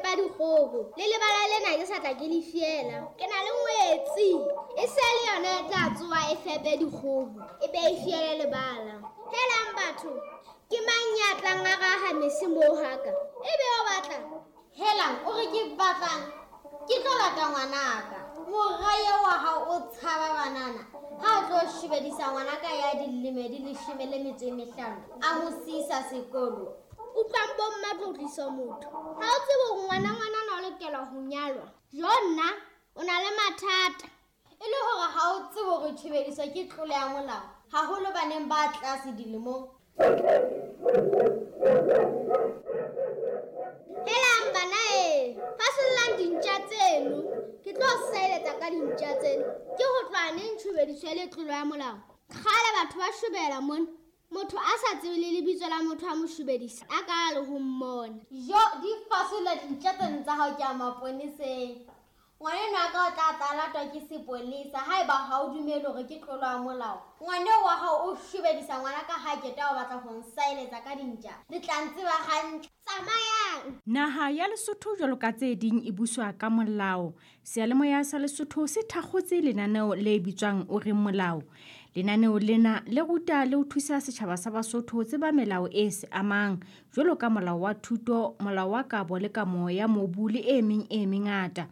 fepa dikgoho. Le lebala lena ke sa tla ke le fiela. Ke na le ngwetsi. E se le yona e tla tsoha e fepe dikgoho, e be e fiele lebala. Helang batho, ke mang ya tlang a raha mese moo haka? E be o batlang? Helang, o re ke batlang? Ke tlo lata ngwanaka. Mora eo wa hao o tshaba banana. Ha o tlo shebedisa ngwanaka ya dilemo di 15, a mo siisa sekolo. Utlwang bo mma tlotlisa motho. Ha o tsebe hore ngwana ngwanana o lokela ho nyalwa. Jo nna, o na le mathata. E le hore ha o tsebe hore tshebediso ke tlolo ya molao, haholo baneng ba tlase dilemong. Helang bana e, fasollang dintja tseno. Ke tlo seletsa ka dintja tseno. Ke ho tloha neng tshebediso e le tlolo ya molao? Kgale batho ba shobela mona. Motho a sa tsebe le lebitso la motho a mo shobedisa, a ka le ho mmona. Jo, di fasolla dintja tseno tsa hao ke a maponeseng. Ngwaneno a ka o tla tla latwa ke sepolesa haeba ha o dumele hore ke tlolo ya molao. Ngwaneo wa hao o shobedisa ngwana ka ha keta o batla ho nsaeletsa ka dintja. Le tla ntseba hantle. Tsamayang. Naha ya Lesotho jwalo ka tse ding e buswa ka molao. Seyalemoya sa Lesotho se thakgotse lenaneo le bitswang O Reng Molao. Lenaneo lena le ruta le ho thusa setjhaba sa Basotho ho tseba melao e se amang, jwalo ka molao wa thuto, molao wa kabo le kamo ya mobu le e meng e mengata.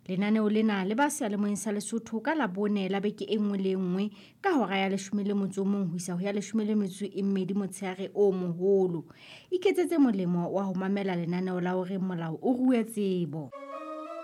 Lenaneo lena le ba seyalemoyeng sa Lesotho ka Labone la beke e nngwe le e nngwe ka hora ya 11 ho isa ho ya 12 motshehare o moholo. Iketsetse molemo wa ho mamela lenaneo la O Reng Molao o rue tsebo.